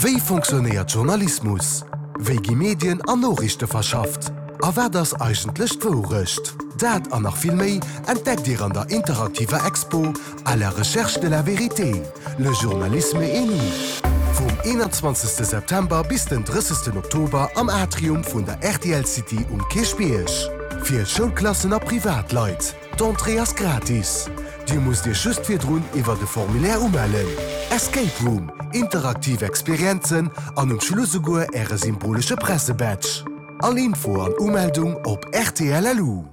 Wéi fonctionnéiert Journalismus? Wéi gi Medien an Noriichte verschafft? A wat ass eigentlech d'Wourecht? Dat an nach vill méi entdeckt Dir an der interaktiver Expo À la recherche de la vérité, le journalisme et nous vum 21 September bis den 30 Oktober am Atrium vun der rtl City um Kierchbierg. Fir Schoulklassen a Privatleit. D'Entrée ass gratis. Dir musst Iech just virdrun iwwert e Formulaire umellen. Escape Room, interaktiv Experienzen an um Schluss esouguer Äre symbolesche Pressebadge. All Info an Umeldung op rtl.lu.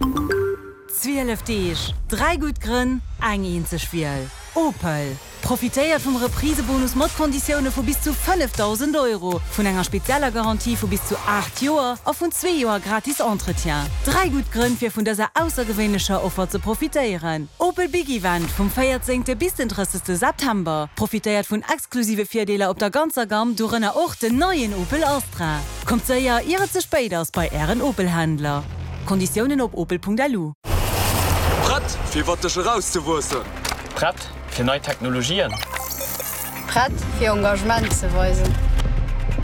12 Deeg, 3 gutt Grënn, eng eenzeg Wiel, Opel! Profitéiert vum Reprisebonus mat Konditioune vu bis zu 5.000 Euro, vun enger spezieller Garantie vu bis zu 8 Joer a vun zwee Joer gratis Entretien. Dräi gutt Grënn fir vun dëser aussergewéinlecher Offer ze profitéieren. Opel Big Event vum 14 bis den 30 September. Profitéiert vun exklusive Virdeeler op der ganzer Gamm, dorënner och den neien Opel Astra. Kommt séier ier et ze spéit ass bei Ären Opel-Händler. Konditiounen op opel.lu. Prett fir iwwert dech erauszewuessen? Prett fir nei Technologien? Prett fir Engagement ze weisen?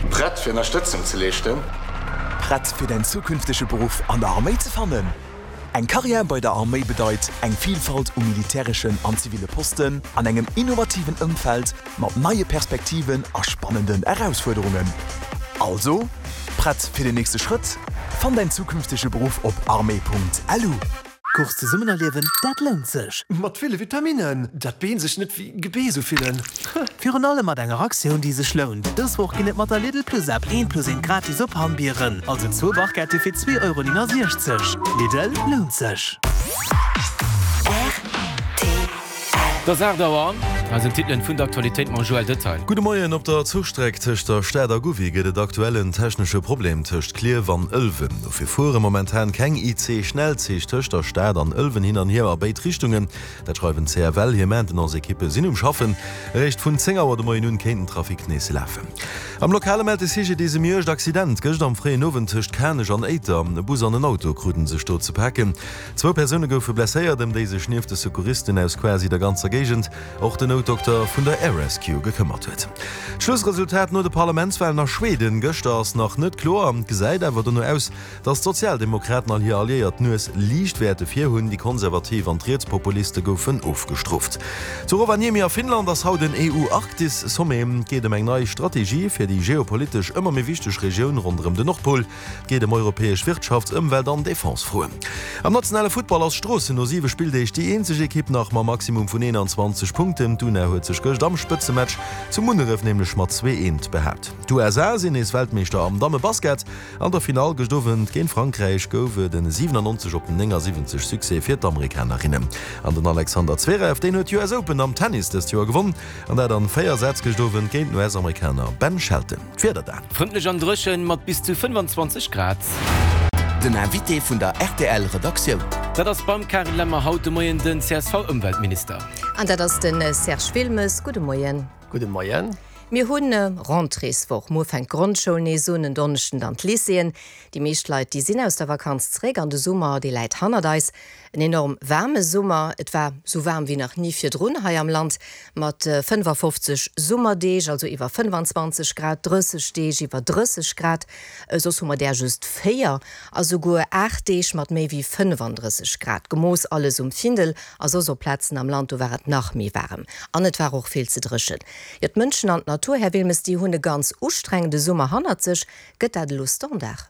Prett fir Ënnerstëtzung ze leeschten? Prett fir däin zukünftege Beruff an der Arméi ze fannen? Eng Karriär bei der Arméi bedeit eng Vilfalt u militäreschen an ziville Posten an engem innovativen Ëmfeld mat neie Perspektiven a spannenden Erausfuerderungen. Also, prett fir den nächste Schrëtt? Fann däin zukünftege Beruff op armee.lu. Course zesummen erliewen, dat lount sech! Mat ville Vitaminnen, dat d'Been sech net wéi Gebeess ufillen. Virun allem mat enger Aktioun, déi sech lount. Dës Woch ginn et mat der Lidl Plus App eent plus eent gratis op Hammbieren, also zwou Barquette fir 2,69 Euro. Lidl, lount sech! Et ass 8 Auer. Hei sinn d'Titelen vun der Aktualitéit mam Joël Detail. Gudde Moien, Op der Zuchstreck tëscht der Stad a Gouvy gëtt et aktuell en technesche Problem tëscht Klierf an Ëlwen. Dofir fuere momentan keng IC-Schnellzich tëscht der Stad an Ëlwen hin an hier a béid Richtungen. Dat schreiwen d'CFL. Hir Maintenance-Ekippe sinn um Schaffen. Eréischt vun 10 Auer de Moien un kéint den Trafic nees lafen. Am Lokale mellt de CGDIS e méi uergt Accident gëscht am fréien Owend tëscht Kanech an Éiter. E Bus an en Auto kruten sech do ze paken. Zwou Persoune goufe blesséiert, ëm déi sech nieft de Secouristen aus quasi der ganzer Géigend och den Noutdokter vun der Air Rescue gekëmmert huet. D'Schlussresultat no de Parlamentswalen a Schweden gëschter ass nach net kloer, gesäit awer dono aus, datt d'Sozialdemokraten an hir Alliéiert d'Nues liicht wäerte vir hunn. Déi Konservativ an d'Rietspopuliste goufen ofgestrooft. Zu Rovaniemi a Finnland ass haut en EU-Arktis-Sommet. Et geet ëm eng nei Strategie fir déi geopolitesch ëmmer méi wichteg Regioun ronderëm den Nordpol. Geet ëm europäesch Wirtschafts-, Ëmwelt an Defense-Froen. Am nationale Futtball ass Stroossen no 7 Spilldeeg déi eenzeg Ekipp nach mam Maximum vun 21 Punkten. D'Una huet sech gëscht am Spëtzematch zu Munneref nämlech mat 2, 1 behaapt. D'USA sinn nees Weltmeeschter am Damme-Basket. An der Finall gëscht Owend géint Frankräich gouf et en 97 op 79 Succès fir d'Amerikanerinnen. An den Alexander Zverev, deen huet d'US Open am Tennis dëst Joer gewonn, an dat an 4 Sätz gëscht Owend géint den US-Amerikaner Ben Shelton. D'Wieder dann. Frëndlech an dréchen mat bis zu 25 Grad. Den Invité vun der rtl Redaktioun. Dat ass beim Carine Lemmer haut de Moien den CSV-Ëmweltminister. An dat ass de Serge Wilmes. Gudde Moien. Gudde Moien. Mir hunn Rentréeswoch. Muer fänkt d'Grondschoul nees un, en Donneschden dann d'Lycéeën. Déi meescht Leit, déi sinn aus der Vakanz zeréck an de Summer, dee läit hannert eis. En enorm waarme Summer, et war sou waarm wéi nach ni virdrun hei am Land, mat 55 Summerdeeg, also iwwer 25 Grad, 30 Deeg iwwer 30 Grad, soss hu mer där just 4, a souguer 8 Deeg mat méi wéi 35 Grad gemooss, alles um Findel a soss op Plazen am Land, do war et nach méi waarem an et war och vill ze dréchen. Jo, d'Mënschen an d'Natur, Här Wilmes, déi hunn e ganz ustrengende Summer hannert sech. Gëtt dat elo Standard?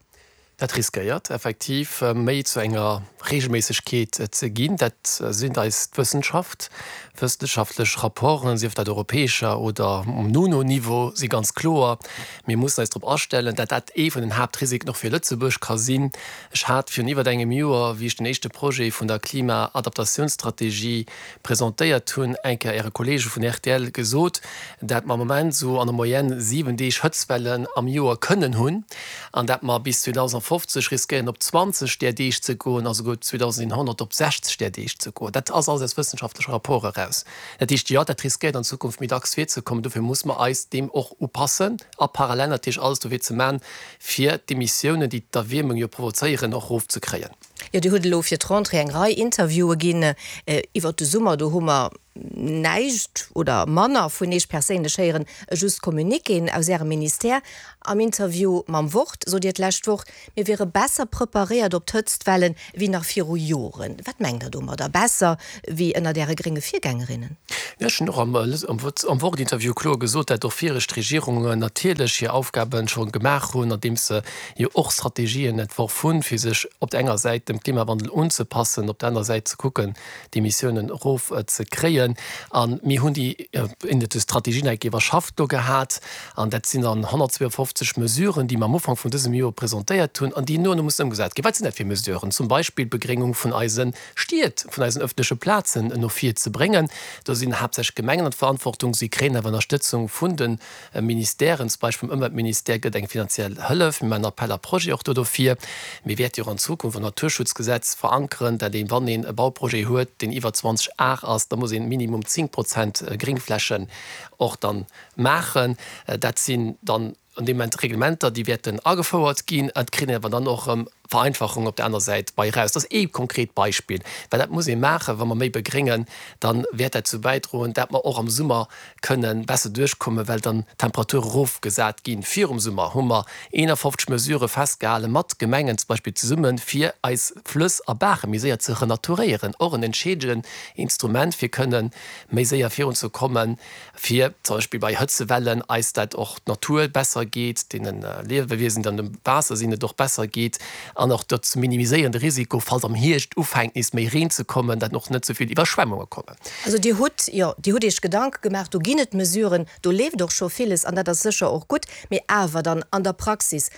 Dat riskéiert effektiv méi zu enger Reegelméissegkeet ze ginn. Dat seet eis d'Wëssenschaft. Wëssenschaftlech Rapporten, sief dat europäescher oder um UNO-Niveau, si ganz kloer, Mir mussen eis drop astellen, dat dat ee vun den Haaptrisiken och fir Lëtzebuerg ka sinn. Ech hat virun iwwert engem Joer, wéi ech den éischte Projet vun der Klimaadaptatiounsstrategie presentéiert hunn, eng Kéier Äre Kollege vun rtl gesot, dat mer am Moment esou an der Moyenne 7 Deeg Hëtztwellen am Joer kënnen hunn an dat mer bis 2050 riskéieren op 20 där Deeg ze goen a souguer 2100 op 60 där Deeg ze goen. Dat ass alles aus wëssenschaftleche Rapporte eraus. Dat heescht, jo, dat riskéiert an Zukunft méi dacks virzekommen. Dofir muss mer eis deem och upassen a parallel natierlech alles dofir ze maachen, fir d'Emissiounen, déi d'Erwiermung jo provozéieren, och erofzekréien. Jo, Dir hutt elo fir d'Rentrée eng Rei Interviewe ginn iwwert de Summer. Do hu mer. näischt oder manner vun Iech perséinlech héieren, just Communiquéen aus Ärem Ministère. Am Interview mam Wort sot Dir d'lescht Woch, mir wiere besser preparéiert op d'Hëtztwellen wéi nach viru Joren. Wat mengt Der domadder, besser wéi ënnert Äre grénge Virgängerinnen? Jo, ech hunn och am Wort-Interview kloer gesot, dat och viregt Regierungen natierlech hir Aufgabe scho gemaach hunn, andeems se jo och Strategien entworf hunn, fir sech op der enger Säit dem Klimawandel unzepassen, op der anerer Säit ze kucken, d'Emissiounen erof ze kréien. A mir hunn déi Strategie nach eng Kéier iwwerschafft do gehat. An dat sinn dann 152 Mesuren, déi mer am Ufank vun dësem Joer presentéiert hunn an déi no an no mussen ëmgesat ginn. Wat sinn dat fir Mesuren? Zum Beispill d'Begréngung vun eise Stied, vun eisen öffentleche Plazen no vir ze bréngen. Do sinn haaptsächlech d'Gemengen an d'Verantwortung. Si kréien awer Ënnerstëtzung vun de Ministèren, zum Beispill vum Ëmweltministère gëtt eng finanziell Hëllef. Mir maachen Appel à projets och do dofir. Mir wäerte jo och an Zukunft am Naturschutzgesetz verankeren, dat een, wann een e Bauprojet huet, deen iwwer 20 Ar ass, da muss een minimum 10 Prozent Gréngflächen och dann maachen. Dat sinn dann an deem Moment Reglementer, déi wäerten agefouert ginn. Et kritt een awer dann och erëm Vereinfachung op der aner Säit bei eraus. Dat ass ee konkret Beispill, well dat muss ee maachen. Wa mer méi begréngen, da wäert dat zu bäidroen, dat mer och am Summer kënnen besser duerchkommen, well dann d'Temperature erofgesat ginn. Virum Summer hu mer 51 Mesurë festgehale mat Gemengen zum Beispill zesummen, fir eis Flëss a Baache méi séier ze renaturéieren, och en entscheedenden Instrument, fir kënnen méi séier virunzekommen, fir zum Beispill bei Hëtzewellen eis dat och d'Natur besser geet, deene Liewewiesen, déi an dem Waasser sinn, et och besser geet an och dat ze minimiséieren, de Risiko, falls am Hierscht ufänkt nees méi Reen ze kommen, dat och net esou vill Iwwerschwemmunge kommen. Also Dir hutt, jo, Dir hutt Iech Gedanke gemaach, do ginn et Mesuren, do leeft och scho villes an dat ass sécher och gutt, mee awer dann an der Praxis,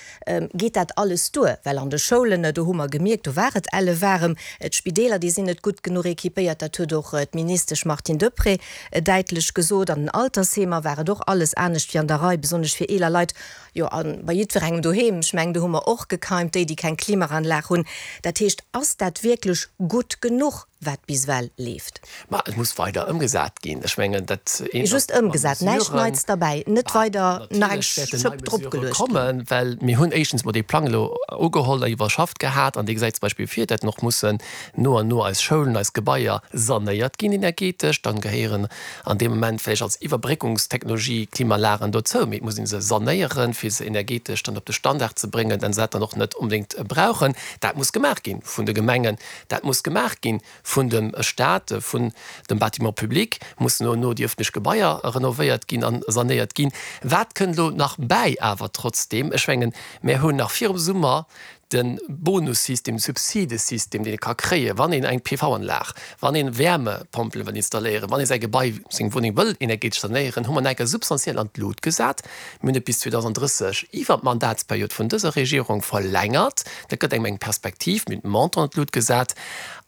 geet dat alles duer? Well an de Schoulen, do hu mer gemierkt, do war et elle waarem, d'Spideeler, déi sinn net gutt genuch équipéiert, dat huet och d'Ministesch Martine Deprez däitlech gesot, an den Altersheemer war et och alles anescht wéi an der Rei, besonnesch fir eeler Leit, jo, a bei jiddwerengem doheem, ech mengen, do hu mer och gekeimt, déi, déi keng Klimaanlag hunn. Dat heescht, ass dat wierklech gutt genuch? wat bis ewell leeft. Ma et muss weider ëmgesat ginn. Ech mengen, dat eent ass, Just ëmgesat, näischt Neits derbäi, net weider nach eng Schëpp drop geluecht ginn. Kommen, well mir hunn éischtens mol dee Plang elo ugeholl a iwwerschafft gehat an dee gesäit zum Beispill vir, dat och mussen no an no eis Schoulen, eis Gebaier sanéiert ginn energetesch. Dann gehéieren an deem Moment vläicht als Iwwerbréckungstechnologie Klimaanlagen dozou, mee et muss ee se sanéieren, fir se energetesch dann op de Standard ze bréngen, dann se dat dann och net onbedéngt brauchen. Dat muss gemaach gi vun de Gemengen. Dat muss gemaach gi vun dem Stat, vun dem Bâtiment public, mussen no an no déi öffentlech Gebaier renovéiert ginn a sanéiert ginn. Wat kënnt elo nach bäi awer trotzdeem? Ech mengen, mär hunn nach virum Summer de Bonussystem, de Subsidesystem, deen ee ka kréien, wann een eng PV-Anlag, wann ee Wärmepompele wëll installéieren, wann ee säi Gebai, seng Wunneng wëll energetesch sanéieren, hu mer nach eng Kéier substantiell an d'Lut gesat. Mir hunn et bis 2030 iwwer d'Mandatsperiod vun dëser Regierung verlängert. Dat gëtt engem eng Perspektiv. Mir hunn d'Montant an d'Lut gesat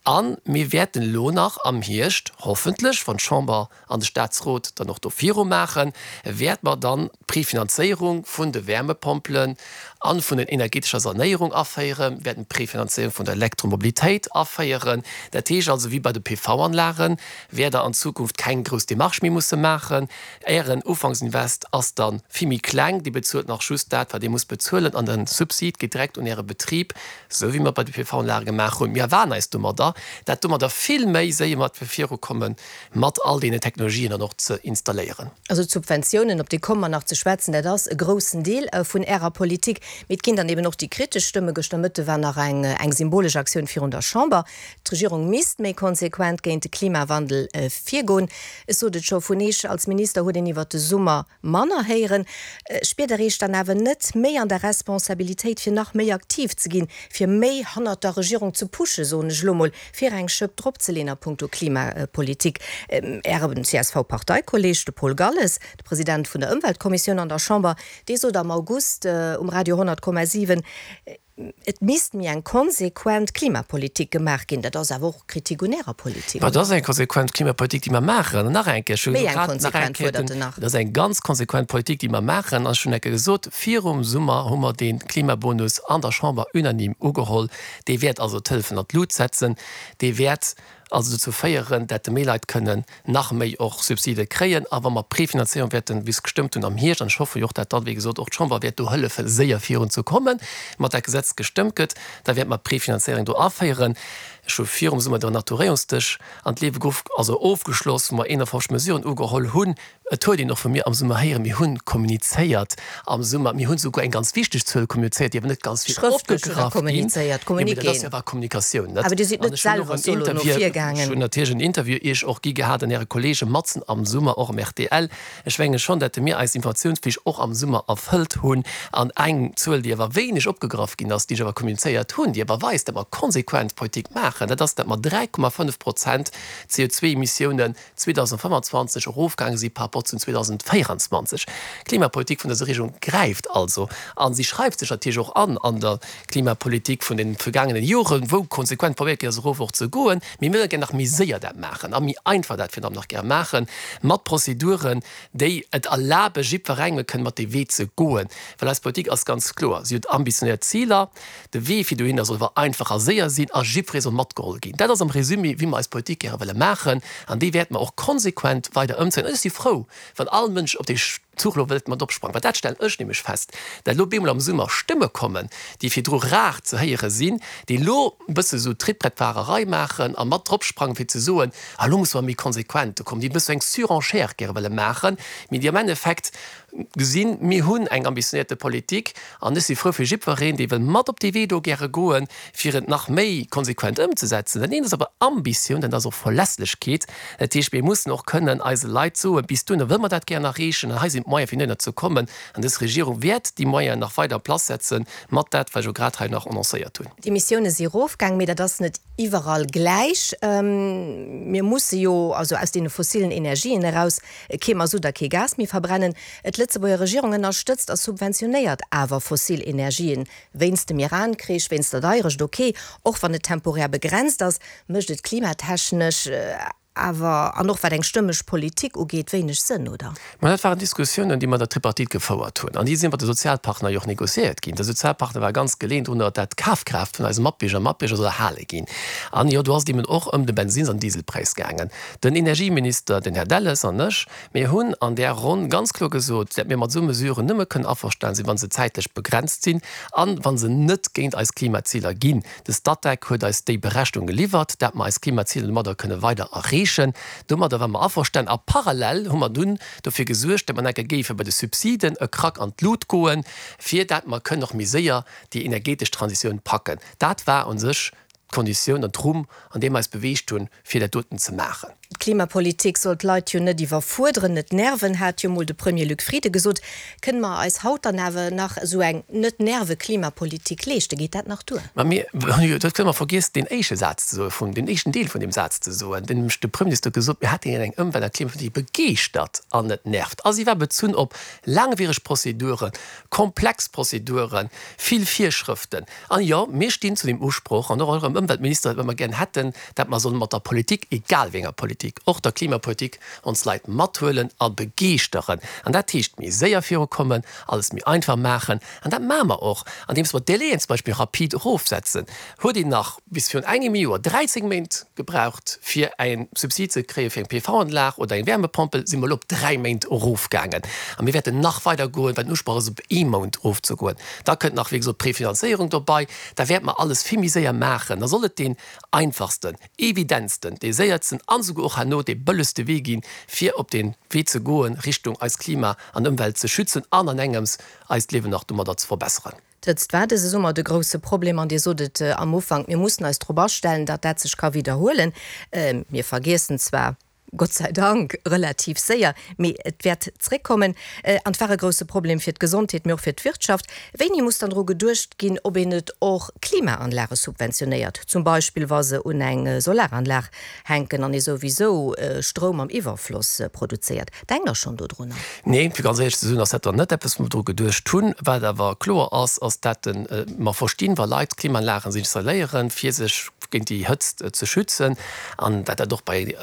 a mir wäerten elo nach am Hierscht, hoffentlech, wann d'Chamber an de Statsrot dann och do virumaachen, wäerte mer dann d'Prefinanzéierung vun de Wärmepompelen a vun den energetescher Sanéierung aféieren, wäerten d'Prefinanzéierung vun der Elektromobilitéit aféieren. Dat heescht also, wéi bei de PV-Anlagen wäert Der an Zukunft keng grouss Démarche méi musse maachen. Ären Ufanksinvest ass dann vill méi kleng, Dir bezuelt nach just dat, wat Dir musst bezuelen an den Subsid geet direkt un Äre Betrib, sou wéi mer et bei de PV-Anlage gemaach hunn. Mir erwaarden eis domadder, dat domadder vill méi séier mat virukommen, mat all deenen Technologien dann och ze installéieren. Also d'Subventiounen, op déi komme mer nach ze schwätzen, dat ass e groussen Deel vun Ärer Politik. Mee et ginn dann eben och déi kritesch Stëmme. Gëschter Mëtte war nach eng symbolesch Aktioun virun der Chamber. D'Regierung misst méi konsequent géint de Klimawandel virgoen. Ech sot et scho, vun Eech als Minister huet een iwwert de Summer manner héieren. Spiert Der Eech dann awer net méi an der Responsabilitéit, fir nach méi aktiv ze ginn, fir méi hannert der Regierung ze pushen, soen ech elo mol, fir eng Schëpp dropzeleen a puncto Klimapolitik? Ären CSV-Parteikolleeg, de Paul Galles, de President vun der Ëmweltkommissioun an der Chamber, dee sot am August um Radio 100,7, Et misst méi eng konsequent Klimapolitik gemaach ginn. Dat ass awer och Kritik un Ärer Politik, oder? Et ass eng konsequent Klimapolitik, déi mer maachen. An nach eng Kéier, ech hu Méi eng grad nach eng konsequent, Kéier fuerdert en nach. Et ass eng ganz konsequent Politik, déi mer maachen. An ech hunn eng Kéier gesot, virum Summer hu mer dee Klimabonus an der Chamber unanime ugeholl. Dee wäert also d'Hëllefen an d'Lut setzen. Dee wäert also dozou féieren, dat de méi Leit kënnen nach méi och Subside kréien. A wa mer d'Prefinanzéierung wäerten, wéi se gestëmmt hunn am Hierscht, an ech hoffe jo och, dat dann, wéi gesot, och d'Chamber wäert do hëllefen, séier virunzekommen, mat dat Gesetz gestëmmt gëtt, da wäerte mer d'Prefinanzéierung do aféieren. Ech hu virum Summer de Renaturéierungsdësch an d'Liewe geruff, also ofgeschloss, wou mer 51 Mesuren ugeholl hunn. Et huet een och vu mir am Summer héieren, mir hunn kommunizéiert am Summer, mir hunn souguer eng ganz wichteg Zuel kommunizéiert, déi awer net ganz vill Schrëftlech hutt Der opgegraff ginn. kommunizéiert, Jo, mee dat ass Communiquéen. jo awer Kommunikatioun, net? Awer Dir sidd An net ech hunn och selwer en solo no Interview, vir ech gaangen. hunn natierlech en Interview Iech och gi gehat an Äre Kollege matzen am Summer, och am rtl. Ech menge schonn, datt mir eis Informatiounsflicht och am Summer erfëllt hunn. An eng Zuel, déi awer wéineg opgegraff ginn ass, déi ech awer kommunizéiert hunn, déi awer weist, datt mer konsequent Politik maachen, dat ass, datt mer 3,5 Prozent CO2-Emissiounen 2025 erofgaange si par rapport zu 2024. D'Klimapolitik vun dëser Regierung gräift also a si schreift sech natierlech och an an der Klimapolitik vun de vergaangene Joren, wou konsequent probéiert ginn ass, erof och ze goen. Mee mir wëlle gär nach méi séier dat maachen a méi einfach dat virun allem nach gär maachen, mat Prozeduren, déi et erlabe jiddwerengem kënne mat dee Wee ze goen. Well eis Politik ass ganz kloer, Si huet ambitionéiert Ziler. De Wee fir dohinner soll awer einfach a séier sinn a jiddweree soll matgeholl ginn. Dat ass am Résumé, wéi mer eis Politik gäre wëlle maachen an déi wäerte mer och konsequent weider ëmzéien. An ech si frou, wann all Mënsch op dee Zuch elo wëllt mat opsprangen, well dat stellen ech nämlech fest, dat elo bemol am Summer Stëmme kommen, déi virdru rar ze héiere sinn, déi elo e bësse sou Trittbrettfahrerei maachen a mat dropsprangen, fir ze soen, ah elo musse mer méi konsequent do kommen, déi e bësse eng Surenchère gäre wëlle maachen, mee déi am Endeffekt gesinn, mir hunn eng ambitionéierte Politik an ech si frou fir jiddwereen, dee wëll mat op dee Wee do gäre goen, fir et nach méi konsequent ëmzesetzen. Dat eent ass awer Ambitioun, dat ass och Verlässlechkeet. Dat heescht, mir mussen och kënnen eise Leit soen, bis dohinner wëlle mer dat gären erreechen an hei sinn d'Moyene fir dohinner ze kommen. An dës Regierung wäert déi Moyenen nach weider en place setzen, mat dat, wat ech elo grad hei nach annoncéiert hunn. D'Emissioune si erofgaang, mee dat ass net iwwerall gläich. Mir musse jo also aus deene fossilen Energien eraus. Kee Masutt a kee Gas méi verbrennen. D'Lëtzebuerger Regierung ënnerstëtzt a subventionéiert awer fossil Energien. Wéinst dem Iran-Krich, wéinst der Deierecht, ok, och wann et temporär begrenzt ass, mécht et klimatechnesch awer, an och wat eng stëmmeg Politik ugeet, wéineg Sënn, oder? Mä dat waren Diskussiounen, déi mer an der Tripartite gefouert hunn an déi si mat de Sozialpartner jo och négociéiert ginn. De Sozialpartner war ganz geleeën drunner, dat d'Kafkraaft vun eise Matbierger a Matbierger soll erhale ginn. An jo, do ass et eben och ëm de Bensins an Dieselpräis gaangen. Den Energieminister, den Här Delles, an ech, mir hunn an där Ronn ganz kloer gesot, dat mir mat esou Mesuren nëmme kënnen averstan sinn, wa se zäitlech begrenzt sinn an wa se net géint eis Klimaziler ginn. De Statec huet eis déi Berechnung geliwwert, dat mer eis Klimaziler domadder kënne weider erreechen. Domadder ware mer averstan a parallel hu mer dunn dofir gesuergt, dat mer enke géife bei de Subsiden e Krack an d'Lut goen, fir dat mer kënnen och méi séier déi energetesch Transitioun packen. Dat war u sech d'Konditioun an d'Rumm, an deem mer eis beweegt hunn, fir dat doten ze maachen. D'Klimapolitik soll d'Leit jo net iwwerfuerderen, net nerven, hat jo mol de Premier Luc Frieden gesot. Kënne mer eis haut dann awer nach esou eng net-Nerve-Klimapolitik leeschten? Geet dat nach duer? Mä mir hunn jo, dat kënne mer vergiess, deen éischte Saz ze soen, vun, deen éischten Deel vun deem Saz ze soen, deen nämlech de Premierminister huet gesot, mir hätten eng Ëmwelt a Klimapolitik, déi begeeschtert an net nervt. A si war bezunn op laangwiereg Prozeduren, komplex Prozeduren, vill Virschrëften. An jo, mir stinn zu deem Usproch, an och eurem Ëmweltminister, datt mer gären hätten, datt mer solle mat der Politik, egal wéi enger Politik, och der Klimapolitik, ons Leit mathuelen a begeeschteren. An dat heescht méi séier virukommen, alles méi einfach maachen. An dat maache mer och, andeems mer d'Délaiën zum Beispill rapid erofsetzen. Huet een nach bis virun engem Joer 13 Méint gebraucht, fir e Subsid ze kréie fir eng PV-Anlag oder eng Wärmepompel, si mer elo op 3 Méint erofgaangen. A mir wäerten nach weider goen, well den Usproch ass, op ee Mount erofzegoen. Da kënnt nach, wéi gesot, d'Prefinanzéierung dobei. Da wäerte mer alles vill méi séier maachen. Da soll et deen einfachsten, evidentsten, dee séiertsten an esouguer och herno dee bëllegste Wee ginn, fir op dee Wee ze goen, Richtung eist Klima an Ëmwelt ze schützen an an engems eist Liewen nach domadder ze verbesseren. D'Hëtzt war dëse Summer de grousse Problem an Dir sot et am Ufank, mir mussen eis drop astellen, datt dat sech ka widderhuelen. Mir vergiessen zwar, Gott sei Dank, relativ séier, mee et wäert zréckkommen. An et war e grousse Problem fir d'Gesondheet, mee och fir d'Wirtschaft. Wéini muss dann dru geduecht ginn, ob een net och Klimaanlage subventionéiert, zum Beispill wa se un eng Solaranlag hänken an ee souwisou Stroum am Iwwerfloss produzéiert? Denkt Der schonn dodrunner? Nee, fir ganz éierlech ze soen, ass dat dann net eppes, wou mer dru geduecht hunn. Wat awer kloer ass, ass dat mer verstinn, wa Leit Klimaanlagen sech installéieren, fir sech géint déi Hëtzt ze schützen, an dat dat och bei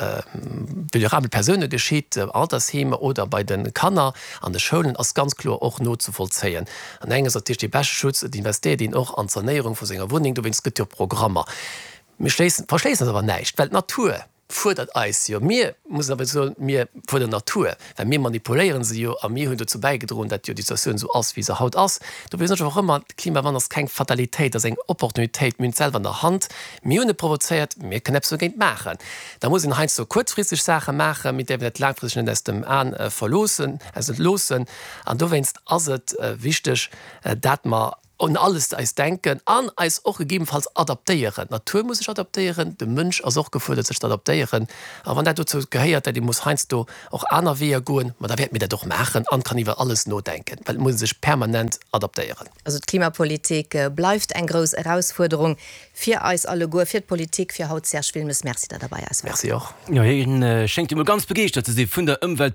vulnerabele Persoune geschitt, Altersheemer oder bei de Kanner an de Schoulen, ass ganz kloer och nozevollzéien. An enges ass natierlech dee beschte Schutz, et investéiert een och an d'Sanéierung vu senger Wunneng, dowéinst gëtt jo Programmer. Mir schléissen, verschléissen eis awer näischt, well d'Natur. fuerdert eis jo. Mir mussen awer soen, mir fuerderen d'Natur, well mir manipuléiere se jo a mir hunn dozou bäigedroen, dat jo déi Situatioun esou ass, wéi se haut ass. Dofir soen ech och ëmmer, de Klimawandel ass keng Fatalitéit, ass eng Opportunitéit. Mir hunn et selwer an der Hand, mir hunn e provozéiert, mir kënnen eppes dogéint maachen. Da muss een heiansdo kuerzfristeg Saache maachen, mir däerfen dat laangfristeg net aus dem Aen verloossen, loossen. An dowéinst ass et wichteg, dat mer un alles eis denken an eis och gegebenfalls adaptéieren. D'Natur muss sech adaptéieren, de Mënsch ass och gefuerdert sech ze adaptéieren. A wann dat dozou gehéiert, dat ee muss heiansdo och aner Weeër goen, ma da wäerte mir dat och maachen an kann iwwer alles nodenken, well et muss ee sech permanent adaptéieren. Also d'Klimapolitik bleift eng grouss Erausfuerderung fir eis alleguer, fir d'Politik, fir haut. Serge Wilmes, Merci, datt Der bei eis waart. Merci och. Jo, hien schéngt jo mol ganz begeeschtert ze si vun der Ëmweltpolitik.